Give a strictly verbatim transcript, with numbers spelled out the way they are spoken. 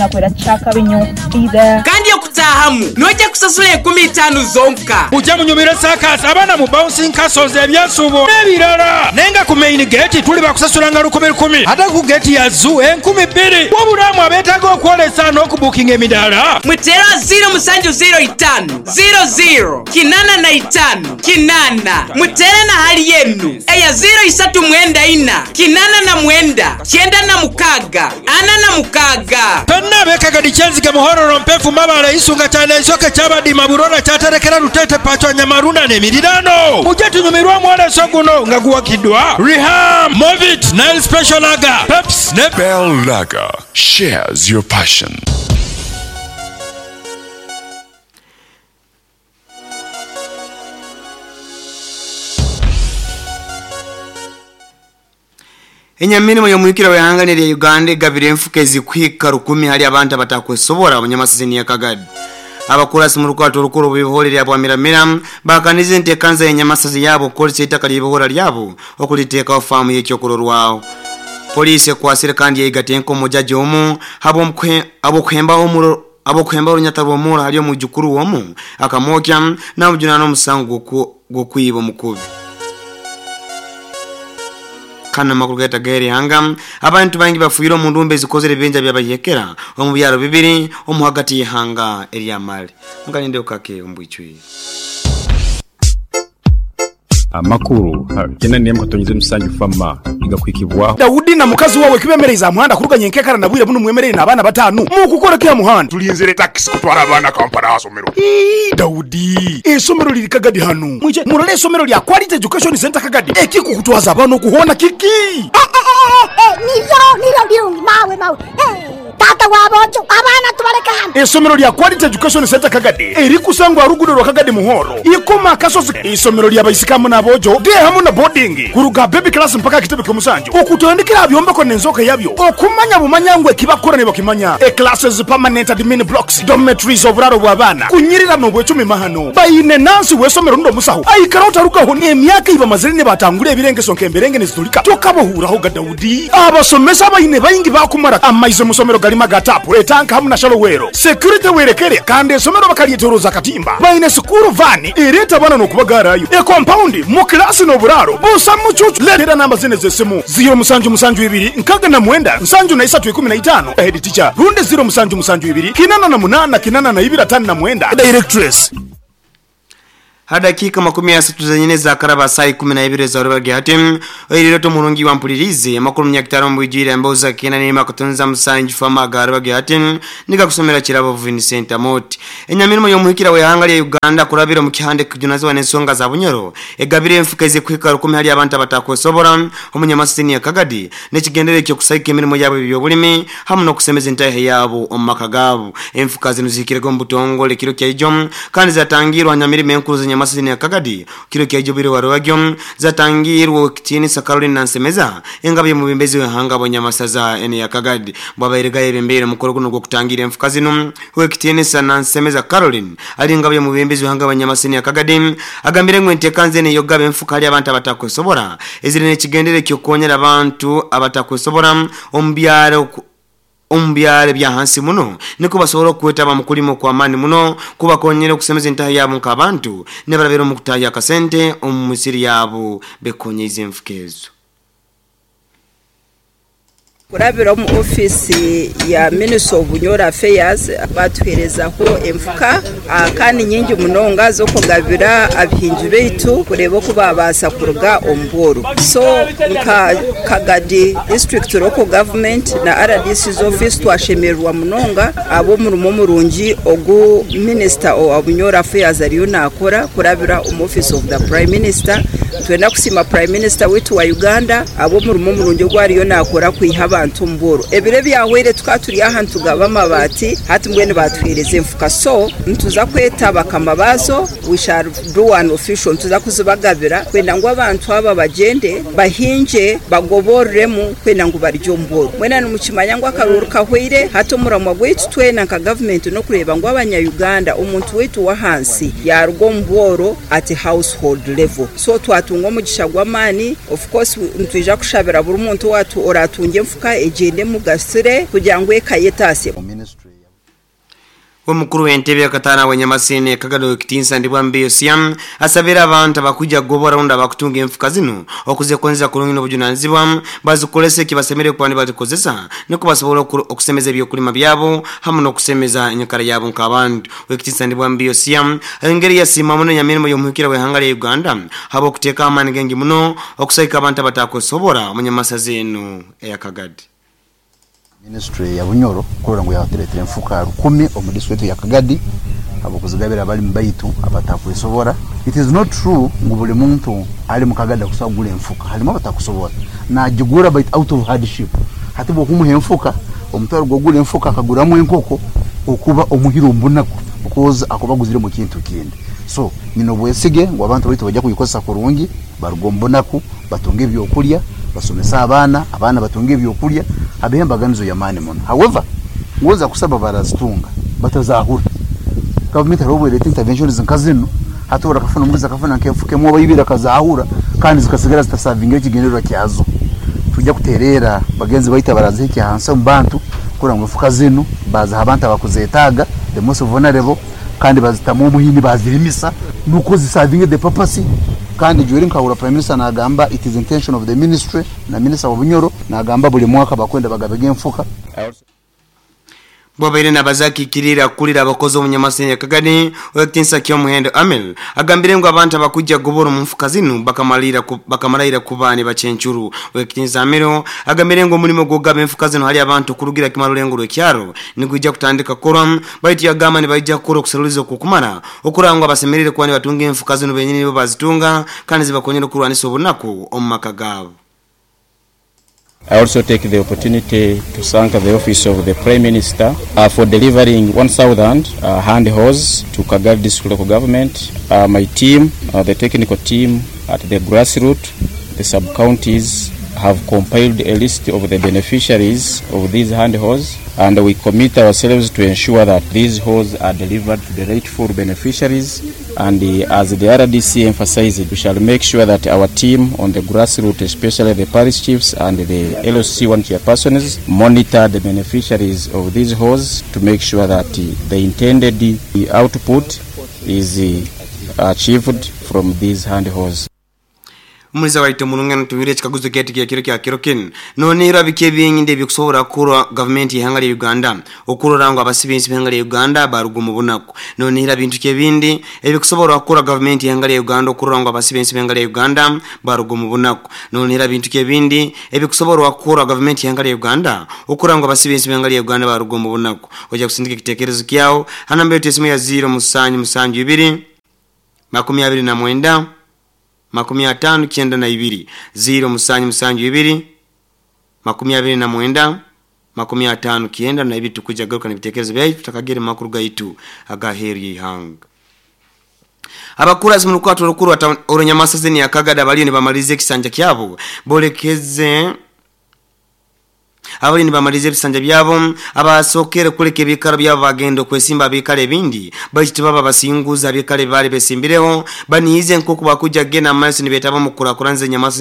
Nakwera kyakabinyo either Kandi okutahamu nojja kusasula enkumi itaano zonka. Mujja munyumire sakas abaana mu bouncing castles ebyensubo n'ebirala. Naye nga ku main gate tuli bakusasulanga lukumi lukumi, ate ku gate ya zoo enkumi bbiri. Wabulamu abeetaaga okwolesa n'okubuukinga emidaala. Mutera ziro musanju ziro itaano ziro ziro kinana na itaano kinana. Mutere na hali yenu eya ziro isatu mwenda ina kinana na mwenda kyenda na mukaga ana na mukaga. Fenna ab'ekagadi Kyenzige Muhororo Mpefu Mabale Isunga kyana Isoke Kyabadima Burora Kyaterekera Rutete Pacho Nyamaruna n'emirirano. Mujje tunyumirwe omwoleso guno nga guwakiddwa Riham, Movit, Nile Special Lager, Peps ne Bell Lager shares your passion. Enyamirimo y'omwikira w'ehanga lya Uganda egabire enfuka ezikuhika rukumi hali abantu abatakwesobora abanyamasizini ya Kagadi. Abakurasi mu rukwato rukuru bw'ibihore lya Bwamiramira bakanize entekanza y'enyamasazi yabo okukozesa ettaka ly'ebihora lyabo okuliteekawo faamu y'ekyokurorwaho. Poliisi ekwasire kandi yaigata enkomo jaji omu habw'okuhembaho omuro abokuhemba orunyata rw'omura hali omujukuru womu akamwokya n'amujunana omusango gw'okwiba omukubi. Kana makuru gaita gairi hanga abantu bangi bafuira mu ndumbe zikozere benja byabayekera omu byaro bibiri omu hagati y'ihanga erya Mali. Mukalinde ukake ombwicwi. Amakuru kena niye mkatonyize musanju fama igakwikibwaho. Daudi na mukazi wawe kibemereza muhanda kuruganya enkekara na bwire buno mwemerere n'abana batanu mu kukora kya muhanda. Tulinzire taxi kutwara abana Kampala asomero. Ii Daudi esomero liri Kagadi hano mwije murole esomero lya Quality Education Center Kagadi ekikukutwaza abana okuhona kiki. Eh eh eh nivyo nivyo byungi mawe mawe. Tata wabojo abana tubareka hano. Esomero lya Quality Education Center Kagadi erikusangwa rugudo rwa Kagadi Muhoro ikoma kasozi. Isomero lya baisikamu n'abojo de hamu na boarding kuruga baby class mpaka kitebe kyomusanju okutandikira byombeko n'enzoka yabyo okumanya bumanyangwe kibakora ne bakimanya. E classes permanent admin blocks dormitories oburaro bw'abana kunyirira n'obwecumi mahano bayine nansi wesomero ndo musaho aikara utarukaho n'emyaka iba mazire ne batangura ebirengeso nkemberenge nezitulika tokabohuraho ga Daudi. Abasomesa bayine bayingi bakumara amaize musomero galima gatapu etanka hamu na shalowero security werekere kandi esomero bakalietoroza katimba bayine sukuru vani ereta bana nokubagarayo e compound mu class no buraro busa mucucu letera namba zine zesimu zero musanju musanju ibiri nkaga na mwenda nsanju na isatu ikumi na itano head teacher runde zero musanju musanju ibiri kinana na munana kinana na ibira tano na mwenda directress. Hadakika makumi ya satu zenyine za karaba saa kumi na ibiri za rubage hatim oiriroto murungi wa mpulirizi makuru mnyakitaro mbwijire mboza kina nima kutunza musanju fama garubage hatim nika kusomera kirabo Vincent Amoti. Enyamirimo y'omuhikira w'ehanga lya Uganda kurabira mu kihande kujunaziwa n'ensonga za Bunyoro egabire enfuka ezikuhika rukumi hali abantu abatakwesobora omunyamasini ya Kagadi n'ekigendere kyo kusayika emirimo yabo eby'obulimi hamu n'okusemeza entahe yabo omu maka gaabo. Enfuka zino zihikirego mu butongole kiro kya ijo kandi zatangirwa nyamirimo enkuru z'enyamasini ya Kagadi kiro kya ijo biri warwagyo zatangirwa kitinisa Caroline Nansemeza engabe mu bimbezi w'ehanga abanyamasaza ene ya Kagadi bwabairega ebembere mukoro guno gwokutangira enfuka zino we kitinisa Nansemeza Caroline ali ngabe mu bimbezi w'ehanga abanyamasini ya Kagadi agambire ngo entekanze ne yogabe enfuka hali abantu abatakwesobora ezire n'ekigendere kyokonyera abantu abatakwesobora omubyaro ombyare bya hansi muno niko basobola okwetaba mu kulimo kwa amani muno kubakonyera okusemeza entaha yabo nk'abantu ne barabera mu kutaya akasente omu misiri yabo bekonyeza enfuka ezo. Kurabira mu ofisi ya Minister of Bunyoro Affairs batuherezaho enfuka kandi nyingi munonga zo kugabira abihingi beitu kureba ko babasa kuruga omboro. So nka Kagadi district local government na R D C's office twashemerwa munonga abo murumo murungi ogu Minister of Bunyoro Affairs ariyo nakora kurabira mu office of the Prime Minister. Twenda kusima Prime Minister wetu wa Uganda abo murumo murungi ogu ariyo nakora kwiha abantu mboro ebire byahwere tukaturi ahantu gaba amabati hati mbwene batwereze enfuka. So ntuza kweta bakamabazo we shall do an official ntuza kuzibagabira kwenda ngo abantu aba bagende bahinje bagoboreremu kwenda ngo baryo mboro mwena numukimanya ngo akaruru kahwere hato muramwa gwetu twena nka government no kureba ngo abanya Uganda omuntu wetu wa hansi yarwo mboro at household level. So twatunga omugisha gw'amani of course ntwija kushabira buri muntu watu oratunge enfuka enfuka egyende emugasire kugira ngu eka yetaase. Omukuru w'entebe yakatana wenyamasene Kagado Kitinsa ndibwambe Yosiam asabira abantu abakuja gobora runda abakutunga enfuka zino okuzekonza kulungi n'obujunanizibwa bazikolese kibasemere kwani bazikozesa niko basobola okusemeza ebyokulima byabo hamu n'okusemeza enyakara yabo nk'abantu. Wekitinsa ndibwambe Yosiam engeri yasima muno nyamirimo y'omuhikira w'ehanga lya Uganda habo okuteeka amaani gengi muno okusaika abantu abatakosobora munyamasazi eno eya Kagadi. Ministry ya Bunyoro kurora ngu yatuletera enfuka rukumi omu district ya Kagadi abokuzigabira abali mbaitu abatakwesobora. It is not true ngu buli muntu ali mu Kagadi akusagula enfuka, halimu abatakusobora najigura but out of hardship. Hati bwokumuha enfuka omutwaro gwogula enfuka akaguramu enkoko okuba omuhiro ombunaku because akubaguzire mu kintu kindi. So nino bwesige ngu abantu baitu bajja kuyikozesa kurungi baruga ombunaku batunge ebyokulya basomesa abaana, abaana batunge ebyokulya abehe embaganizo yamaani muno. However, ngoza kusaba barazitunga batazahura government hariho obwereta interventions nka zino hatora kafuna omuguzi akafuna nk'enfuka emwe oba ibiri akazahura kandi zikasigara zitasavinga ekigendererwa kyazo. Tujja kuterera bagenzi baitu abarazihikya hansi omu bantu kurora ngu enfuka zinu baziha abantu abakuzetaaga the most vulnerable kandi bazitamu omuhini bazirimisa nuko zisavinge the purpose. Kandi jweri nkahura Prime Minister nagamba it is intention of the ministry na minister wa Bunyoro nagamba buli mwaka bakwenda bagabega enfuka. Bwabaire nabazakikirira kulira abakozi omunyamasenya Kagadi wekitinsa kyomuhendo Amel agambire ngu abantu abakujja gobora mu nfuka zino bakamalira bakamalira kubani bacenchuru. Wekitinsa Amel agambire ngu omulimo gwogaba enfuka zino hali abantu kurugira kimarulengo lwekyaro nigujja kutandika koram baitu yagamba ni bajja kukora okusaluliza okukumara okurangwa abasemerere kwani batunga enfuka zino benyini bo bazitunga kandi zibakonyera okurwanisa obunaku omu maka gaabo. I also take the opportunity to thank the Office of the Prime Minister uh, for delivering one thousand uh, hand hose to Kagadi District Local Government. Uh, my team, uh, the technical team at the grassroots, the sub-counties, have compiled a list of the beneficiaries of these hand hose, and we commit ourselves to ensure that these hose are delivered to the rightful beneficiaries. And uh, as the R D C emphasized, we shall make sure that our team on the grassroots, especially the parish chiefs and the L C one chairpersons, monitor the beneficiaries of these hose to make sure that uh, the intended uh, output is uh, achieved from these hand hose. Umuliza waito mulungano tumire chikaguzo kyetu kya kiro kya kirokin nonera bike binginde bikusobola kurwa government y'ihanga lya Uganda okurora ngo abasibinsi b'ihanga lya Uganda barugu mu bunaku. Nonera bintu kyebindi ebikusobola kurwa government y'ihanga lya Uganda okurora ngo abasibinsi b'ihanga lya Uganda barugu mu bunaku. Nonera bintu kyebindi ebikusobola kurwa government y'ihanga lya Uganda okurora ngo abasibinsi b'ihanga lya Uganda barugu mu bunaku. Oja kusindika kitekerezo kyao hanamba yetu esimu ya zero musanju musanju ibiri makumi abiri na mwenda makumi atano kyenda na ibiri zero musanju musanju ibiri makumi abiri na mwenda makumi atano kyenda na ibiri. Tukuja garuka n'ibitekerezo byaitu tutakagere makuru gaitu agaheri y'ihanga. Abakurazi mu lukwato rukuru orunyamasazeni ya Kagada baliyo nibamalize ekisanja kyabo bolekeze abali nibamalize ebisanja byabo abasokere kuleka ebikaro byabo bagenda okwesimba abikale ebindi baitu baba basinguza abikale bali besimbireho baniize nkoku bakuja gena amaaso nibetaba mu kurakuranza enyamaso.